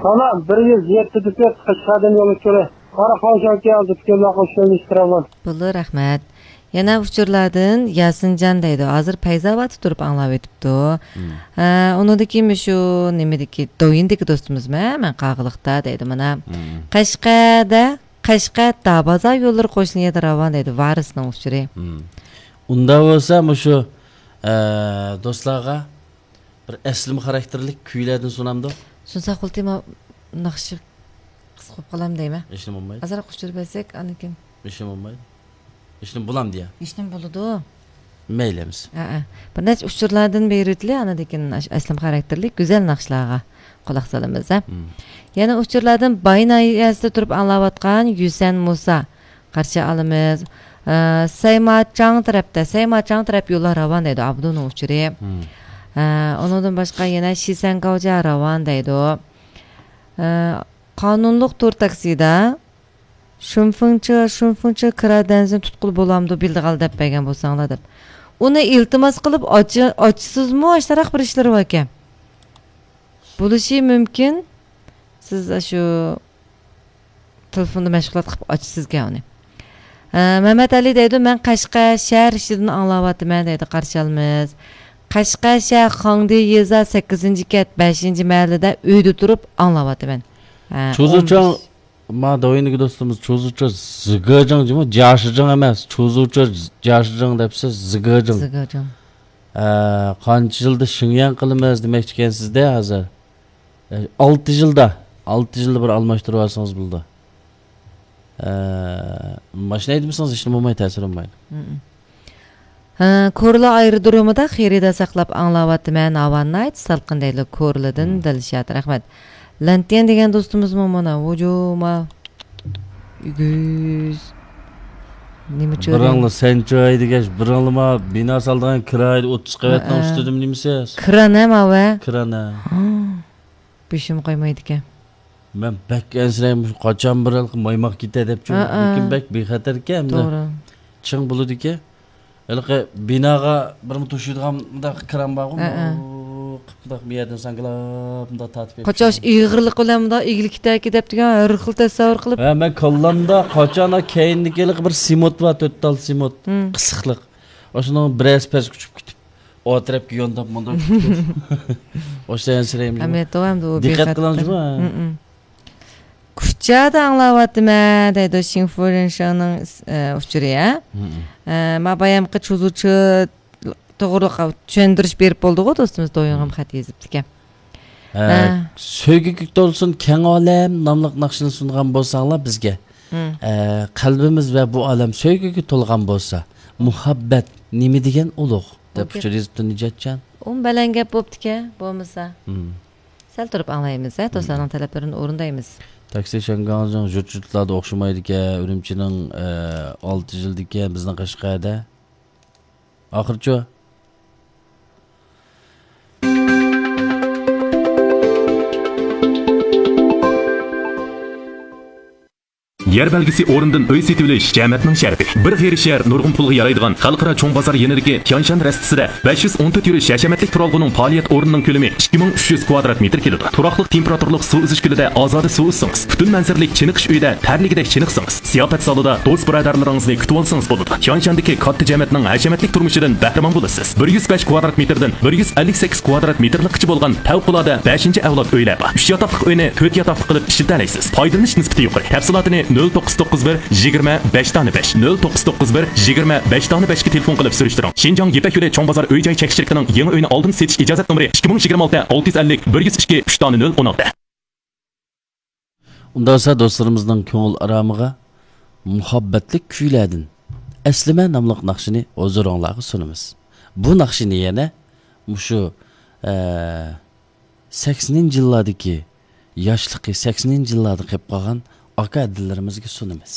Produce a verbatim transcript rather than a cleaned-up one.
سالام، بىر يۈز يەتتە دېسەت قەشقەردىن يول ئۇچۇرى. قاراقالپاقكە ھازىر پۈتۈنلەي قوشۇلۇشتۇرىمەن. بولدى، رەھمەت. يەنە ئۇچۇرلاردىن ياسىنجان دەيدۇ. ھازىر پەيزاۋاتتا تۇرۇپ ئاڭلاۋېتىپتۇ. مم. ھە، ئۇنىڭدىكى مۇشۇ نېمىدىكى، دويىندىكى دوستىمىزمۇ، مەن قاغىلىقتا دەيدۇ مانا. مم. قەشقەردە، قەشقەر دابازا يوللىرى قوشنا يەردە راۋان دەيدۇ. ۋارىسنىڭ ئۇچۇرى. مم. ئۇنداق بولسا مۇشۇ، ئە، دوستلارغا بىر ئەسلىمە خاراكتېرلىك كۈيلەردىن سۇنامدۇ؟ سۇنساق بولدى، ما ناخشا قىسقا بولۇپ قالام دەيمەن. ھېچنېمە بولمايدۇ. ئازراق ئۇچۇر بەرسەك، ئاندىن كېيىن. ھېچنېمە بولمايدۇ. ھېچنېمە بولامدۇ يا؟ ھېچنېمە بولىدۇ. مەيلى ئەمىسە. ھەئە. بىر نەچچە ئۇچۇرلاردىن بېرىۋېتىلى، ئاندىن كېيىن ئاش-، ئەسلىمە خاراكتېرلىك گۈزەل ناخشىلارغا قۇلاق سالىمىز، ھە. مم. يەنە ئۇچۇرلاردىن باي ناھىيەسىدە تۇرۇپ ئاڭلاۋاتقان يۈسەن مۇسا. قارشى ئالىمىز. ئە، سەيماچاڭ تەرەپتە، سەيماچاڭ تەرەپ يوللار راۋان دەيدۇ، ئابدۇنىڭ ئۇچۇرى. مم. ئە، ئۇنىڭدىن باشقا يەنە شىسەنگاۋجا راۋان دەيدۇ. ئە، قانۇنلۇق تور تاكسىدا شۇنفېڭچې، شۇنفېڭچې كىرا دەنزىنى تۇتقىلى بولامدۇ، بىلدىغال دەپ بەرگەن بولساڭلار دەپ. ئۇنى ئىلتىماس قىلىپ ئاچ-، ئاچىسىزمۇ، ئاشتاراق بىر ئىشلىرى باركەن. بولۇشى مۇمكىن، سىز شۇ تېلېفوندا مەشغۇلات قىلىپ ئاچىسىزكەن ئۇنى. ھە، مەمەت ئەلى دەيدۇ، مەن قەشقەر شەھەر ئىچىدىن ئاڭلاۋاتىمەن دەيدۇ، قارشى ئالىمىز. قەشقەر شەھەر خاڭدى يېزا سەككىزىنچى كەنت بەشىنچى مەھەللىدە ئۆيدە تۇرۇپ ئاڭلاۋاتىمەن. ھە، چۇزۇچاڭ، ئون بەش. ما دويىندىكى دوستىمىز چۇزۇچا زىگېجىڭ جىمۇ، جياشىجىڭ ئەمەس، چۇزۇچا جياشىجىڭ دەپسىز، زىگېجىڭ. زىگېجىڭ. ھە، قانچە يىلدا شىڭيەن قىلىمىز دېمەكچىكەنسىز-دە ھازىر. ئالتە يىلدا، ئالتە يىلدا بىر ئالماشتۇرۇۋالسىڭىز بولىدۇ. ئە، ماشىنا ھەيدىمىسىڭىز ھېچنېمە بولمايدۇ، تەسىر بولمايدۇ. مم. ھە، كورلا ئايرودرومىدا خېرىدار ساقلاپ ئاڭلاۋاتىمەن، ھاۋا ناھايىتى سالقىن دەيدۇ، كورلىدىن مم. دىلشات، رەھمەت. لەنتيەن دېگەن دوستىمىزمۇ مانا، ۋۇجۇما، ئۈگۈز. نېمە چۆرە؟ بىراڭلا سەنچۇ ھەيدىگەچ، بىراڭلىما بىنا سالىدىغان كىرا ھەيدە ئوتتۇز قەۋەتنىڭ ھە. ئۈستىدىمۇ نېمىسى؟ كىران ھە ماۋە؟ كىران ھە. ھا. بېشىم قايمايدىكەن. مەن بەك ئەنسىرەيمەن، مۇشۇ قاچان بىر ھېلىقى مايماق كېتە دەپ چۇ. ھەئە. لېكىن بەك بىخەتەركەن ئەمدى. توغرا. چىڭ بولىدىكەن. ھېلىقى بىناغا بىرمۇ توشۇيدىغان مۇنداق كىران بارغۇ، ھەئە. مۇنداق بۇ يەردىن ساڭگىلاپ مۇنداق تارتىپ قاچاش كەتكەن. ئېغىرلىقى بىلەن مۇنداق ئېگىلىپ كېتەركى دەپ دېگەن ھەر خىل تەسەۋۋۇر قىلىپ. ھە، مەن كاللامدا قاچان كەينىدىكى ھېلىقى بىر سېمونت بار، تۆت تال سېمونت. ھىم. قىسىقلىق. ئاشۇنىڭ بىرەرسى پەسكە ئۇچۇپ كېتىپ، ئو تەرەپكە يانداپ مۇنداق كېتىپ. ئاشۇ ئەنسىرەيمەن. ئەمەلىيەتتە ئەمدى ئۇ دىققەت بىخەتەر. قىلىڭ جۇمۇ. ھىم، ھىم. كۇچادا ئاڭلاۋاتىمەن دەيدۇ، شىڭفۇرېنشىڭنىڭ، ئە، ئۇچۇرى، ھە؟ مم. ئە، ما بايامقى چۇزۇچى توغرىلىق چۈشەندۈرۈش بېرىپ بولدىغۇ، دوستىمىز دويۇڭغىمۇ خەت يېزىپتىكەن. ئە، ھە. سۆيگۈگە تولسۇن كەڭ ئالەم ناملىق ناخشىنى سۇنغان بولساڭلار بىزگە. مم. ئە، قەلبىمىز ۋە بۇ ئالەم سۆيگۈگە تولغان بولسا، مۇھەببەت نېمە دېگەن ئۇلۇغ، دەپ ئوكەي. ئۇچۇر يېزىپتۇ نىجاتجان. ئۇمۇ بەلەن گەپ بوپتىكەن، بولمىسا. مم. سەل تۇرۇپ ئاڭلايمىز، ھە، دوستلارنىڭ تەلەپلىرىنى ئورۇندايمىز. تاكسى شياڭگاڭجىڭ يۇرت-يۇرتلاردا ئوخشىمايدىكەن، ئۈرۈمچىنىڭ، ئە، ئالتە يىلدىكەن، بىزنىڭ قەشقەردە. ئاخىرچۇ؟ يەر بەلگىسى ئورنىدىن ئۆي سېتىۋېلىش جەمەتنىڭ شەرىپى. بىر غېرىب شەھەر نۇرغۇن پۇلغا يارايدىغان خەلقئارا چوڭ بازار يېنىدىكى تيانشان رەستىسىدە بەش يۈز ئون تۆت يۈرۈش ھەشەمەتلىك تۇرالغۇنىڭ پائالىيەت ئورنىنىڭ كۆلىمى ئىككى مىڭ ئۈچ يۈز كۋادرات مېتىر كېلىدۇ. تۇراقلىق تېمپېراتۇرىلىق سۇ ئۈزۈش كۆلىدە ئازادە سۇ ئۈزسىڭىز، پۈتۈن مەنزىرىلىك چېنىقىش ئۆيىدە تەرلىگۈدەك چېنىقسىڭىز، زىياپەت زالىدا دوست-بۇرادەرلىرىڭىزنى كۈتۈۋالسىڭىز بولىدۇ. تيانشاندىكى كاتتا جەمەتنىڭ ھەشەمەتلىك تۇرمۇشىدىن بەھرىمەن بولىسىز. بىر يۈز بەش كۋادرات مېتىردىن بىر يۈز ئەللىك سەككىز كۋادرات مېتىرلىققىچە بولغان پەۋقۇلئاددە بەشىنچى ئەۋلاد ئۆيلەر بار. ئۈچ ياتاقلىق ئۆينى تۆت ياتاقلىق قىلىپ ئىشلىتەلەيسىز. پايدىلىنىش نىسبىتى يۇقىرى. تەپسىلاتىنى نۆل توققۇز توققۇز بىر يىگىرمە بەش دانە بەش، نۆل توققۇز توققۇز بىر يىگىرمە بەش دانە بەشكە تېلېفون قىلىپ سۈرۈشتۈرۈڭ. شىنجاڭ يىپەك يولى چوڭ بازار ئۆي جاي چەكلىك شىركىتىنىڭ يېڭى ئۆينى ئالدىن سېتىش ئىجازەت نومۇرى ئىككى مىڭ يىگىرمە ئالتە ئالتە يۈز ئەللىك بىر يۈز ئىككى ئۈچ دانە نۆل ئون ئالتە. ئۇنداق بولسا دوستلىرىمىزنىڭ كۆڭۈل ئارامىغا مۇھەببەتلىك كۈيلەردىن ئەسلىمە ناملىق ناخشىنى ھۇزۇرۇڭلارغا سۇنىمىز. بۇ ناخشىنى يەنە مۇشۇ، ئە، سەكسىنىنچى يىللاردىكى ياشلىقى سەكسىنىنچى يىللاردا قېلىپ قالغان ئاكا ئىنىلىرىمىزگە سۇنىمىز.